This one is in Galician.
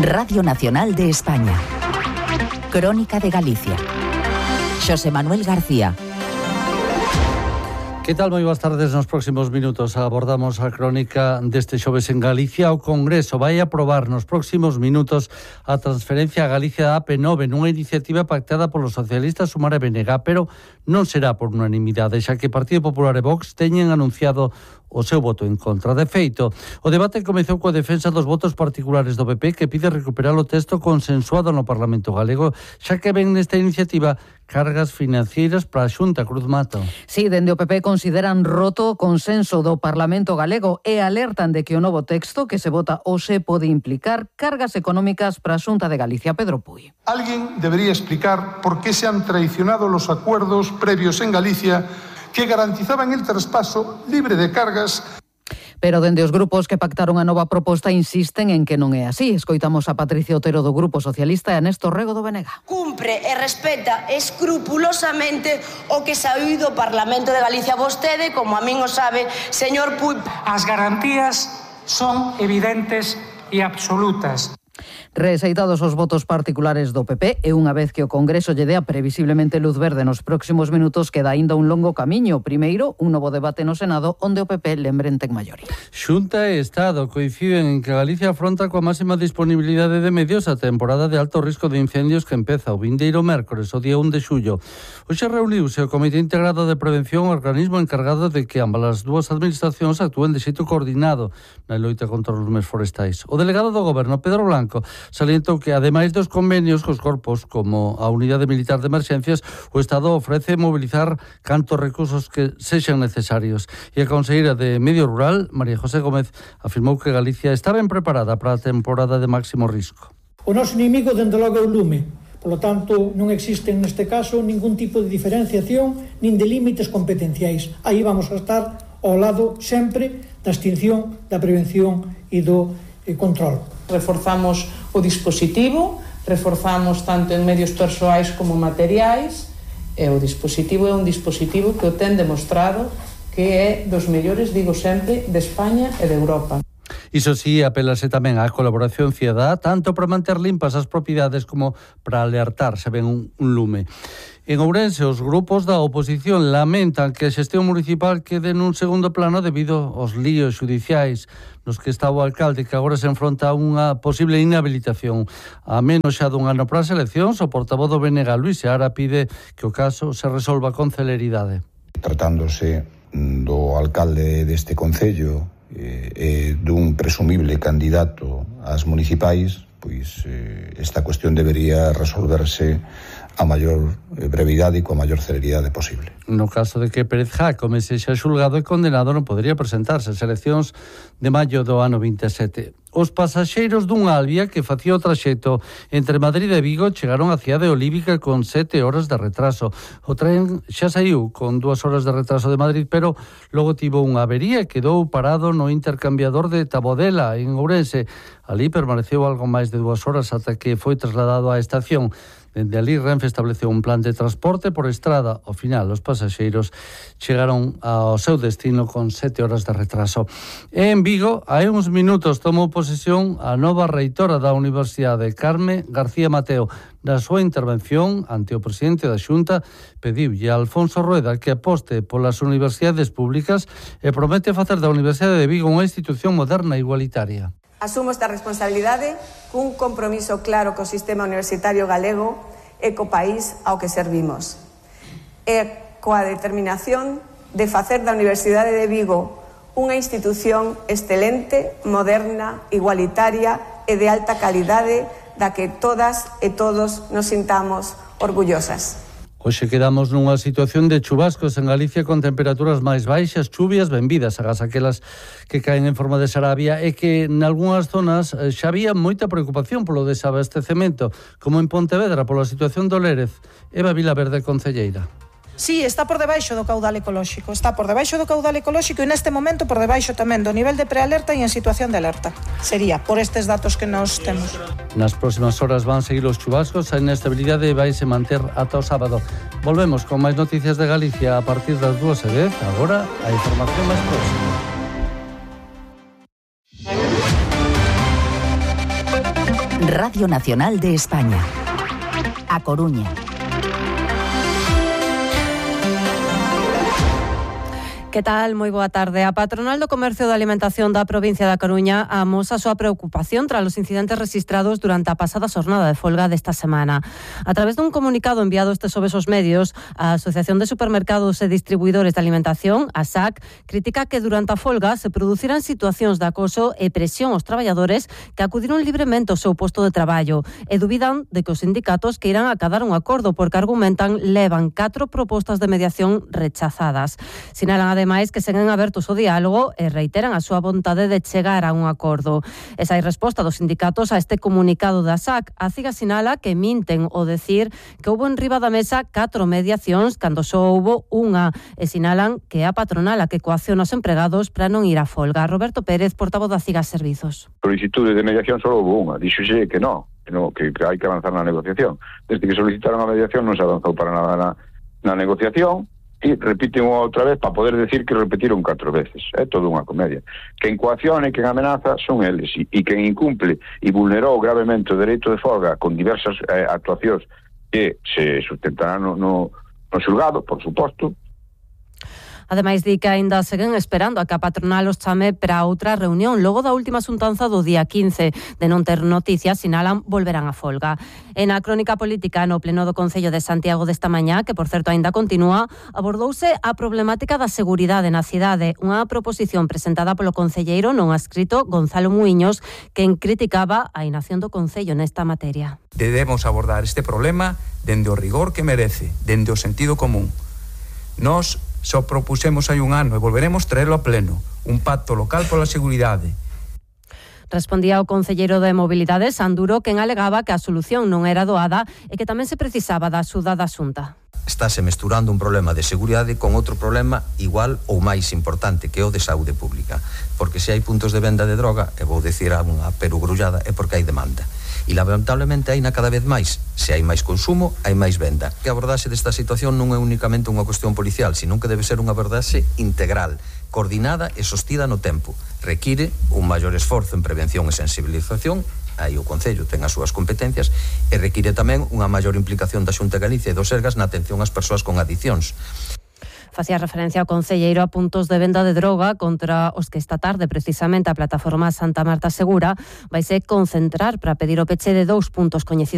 Radio Nacional de España. Crónica de Galicia. Xosé Manuel García. Que tal? Moi boas tardes. Nos próximos minutos abordamos a crónica deste xoves en Galicia. O Congreso vai aprobar nos próximos minutos a transferencia a Galicia da AP9 nunha iniciativa pactada polos socialistas Sumar e BNG, pero non será por unanimidade, xa que Partido Popular e Vox teñen anunciado o seu voto en contra. De feito, o debate comezou coa defensa dos votos particulares do PP, que pide recuperar o texto consensuado no Parlamento galego, xa que ven nesta iniciativa cargas financeiras para a Xunta. Cruz Mato. Sí, dende o PP consideran roto o consenso do Parlamento galego e alertan de que o novo texto que se vota hoxe pode implicar cargas económicas para a Xunta de Galicia. Pedro Puy. Alguien debería explicar por qué se han traicionado los acuerdos previos en Galicia que garantizaban el traspaso libre de cargas. Pero dende os grupos que pactaron a nova proposta insisten en que non é así. Escoitamos a Patricia Otero do Grupo Socialista e a Néstor Rego do BNG. Cumpre e respeta escrupulosamente o que saíu do Parlamento de Galicia. Vostede, como a min o sabe, señor Puy. As garantías son evidentes e absolutas. Rexeitados os votos particulares do PP e unha vez que o Congreso lle dea previsiblemente luz verde nos próximos minutos, queda aínda un longo camiño. Primeiro, un novo debate no Senado onde o PP lembren ten maioría. Xunta e Estado coinciden en que Galicia afronta coa máxima disponibilidade de medios a temporada de alto risco de incendios que empeza o vindeiro mércores, o día 1 de xullo. Hoxe reuniuse o Comité Integrado de Prevención, organismo encargado de que ambas as dúas administracións actúen de xeito coordinado na loita contra os lumes forestais. O delegado do Goberno, Pedro Blanco, salientou que, ademais dos convenios cos corpos como a Unidade Militar de Emerxencias, o Estado ofrece mobilizar cantos recursos que sexan necesarios. E a conselleira de Medio Rural, María José Gómez, afirmou que Galicia está ben preparada para a temporada de máximo risco. O noso inimigo, dende logo, é o lume. Por lo tanto, non existe neste caso ningún tipo de diferenciación nin de límites competenciais. Aí vamos a estar ao lado sempre da extinción, da prevención e do control. Reforzamos o dispositivo, reforzamos tanto en medios persoais como materiais, e o dispositivo é un dispositivo que o ten demostrado que é dos mellores, digo sempre, de España e de Europa. Iso sí, apelase tamén á colaboración cidadá, tanto para manter limpas as propiedades como para alertar se ven un lume. En Ourense, os grupos da oposición lamentan que a xestión municipal quede nun segundo plano debido aos líos xudiciais nos que está o alcalde, que agora se enfronta a unha posible inhabilitación. A menos xa dun ano para as eleccións, o portavoz do BNG, Luís Seara, pide que o caso se resolva con celeridade. Tratándose do alcalde deste concello e dun presumible candidato ás municipais, pois esta cuestión debería resolverse a maior brevidade e coa maior celeridade posible. No caso de que Pérez Jácome sexa xulgado e condenado, non podería presentarse ás eleccións de maio do ano 27. Os pasaxeiros dun Albia que facía o traxecto entre Madrid e Vigo chegaron á cidade olívica con 7 horas de retraso. O tren xa saiu con 2 horas de retraso de Madrid, pero logo tivo unha avería e quedou parado no intercambiador de Tabodela, en Ourense. Ali permaneceu algo máis de 2 horas ata que foi trasladado á estación. Dende ali, Renfe estableceu un plan de transporte por estrada. Ao final, os pasaxeiros chegaron ao seu destino con 7 horas de retraso. E en Vigo, hai uns minutos, tomou posesión a nova reitora da Universidade, Carme García Mateo. Na súa intervención ante o presidente da Xunta, pediulle a Alfonso Rueda que aposte polas universidades públicas e promete facer da Universidade de Vigo unha institución moderna e igualitaria. Asumo esta responsabilidade cun compromiso claro co sistema universitario galego e co país ao que servimos. E coa determinación de facer da Universidade de Vigo unha institución excelente, moderna, igualitaria e de alta calidade da que todas e todos nos sintamos orgullosas. Hoxe quedamos nunha situación de chubascos en Galicia con temperaturas máis baixas, chuvias benvidas, agás aquelas que caen en forma de Sarabia, e que en algunhas zonas xa había moita preocupación polo desabastecemento, como en Pontevedra, pola situación do Lérez. Eva Vilaverde, concelleira. Sí, está por debaixo do caudal ecolóxico. Está por debaixo do caudal ecolóxico e neste momento por debaixo tamén do nivel de prealerta e en situación de alerta. Sería por estes datos que nos temos. Nas próximas horas van seguir os chubascos, a inestabilidade vaise manter ata o sábado. Volvemos con máis noticias de Galicia a partir das 2:10. Agora, a información máis próxima. Radio Nacional de España. A Coruña. Que tal? Moi boa tarde. A patronal do Comercio da Alimentación da provincia da Coruña amosa a súa preocupación tras os incidentes rexistrados durante a pasada xornada de folga desta semana. A través dun comunicado enviado este xoves aos medios, a Asociación de Supermercados e Distribuidores de Alimentación, ASAC, critica que durante a folga se produciran situacións de acoso e presión aos traballadores que acudiron libremente ao seu posto de traballo e dubidan de que os sindicatos que irán acadar un acordo porque argumentan levan 4 propostas de mediación rechazadas. Sinalan ademais que seguen abertos ao diálogo e reiteran a súa vontade de chegar a un acordo. Esa é a resposta dos sindicatos a este comunicado da SAC. A CIGA sinala que minten ao decir que houbo en riba da mesa 4 mediacións cando só houbo unha e sinalan que é a patronal a que coacciona os empregados para non ir a folga. Roberto Pérez, portavoz da CIGA Servizos. Solicitude de mediación só houbo unha. Díxose que non, que hai que avanzar na negociación. Desde que solicitaron a mediación non se avanzou para nada na negociación. E repiten outra vez para poder decir que repetiron 4 veces. É todo unha comedia. Quen coacciona e quen amenaza son eles, e quen incumple e vulnerou gravemente o dereito de folga con diversas actuacións que se sustentarán no xulgado, por suposto. Ademais, di que aínda seguen esperando a que a patronal os chame para outra reunión. Logo da última xuntanza do día 15, de non ter noticias, sinalan volverán a folga. En a crónica política no pleno do Concello de Santiago desta mañá, que por certo aínda continúa, abordouse a problemática da seguridade na cidade, unha proposición presentada polo concelleiro non adscrito Gonzalo Muiños, quen criticaba a inacción do Concello nesta materia. Debemos abordar este problema dende o rigor que merece, dende o sentido común. Nós só propusemos hai un ano e volveremos traerlo a pleno, un pacto local pola seguridade. Respondía o concelleiro de Mobilidade, Sanduro, quen alegaba que a solución non era doada e que tamén se precisaba da axuda da Xunta. Estáse mesturando un problema de seguridade con outro problema igual ou máis importante, que é o de saúde pública. Porque se hai puntos de venda de droga, e vou dicir unha perugrullada, é porque hai demanda. E lamentablemente hai cada vez máis. Se hai máis consumo, hai máis venda. Que a abordaxe desta situación non é únicamente unha cuestión policial, sino que debe ser unha abordaxe integral, coordinada e sostida no tempo. Require un maior esforzo en prevención e sensibilización, aí o Concello ten as súas competencias, e require tamén unha maior implicación da Xunta de Galicia e do Sergas na atención ás persoas con adiccións. Facía referencia ao concelleiro a puntos de venda de droga contra os que esta tarde precisamente a plataforma Santa Marta Segura vaise concentrar para pedir o peche de 2 puntos coñecidos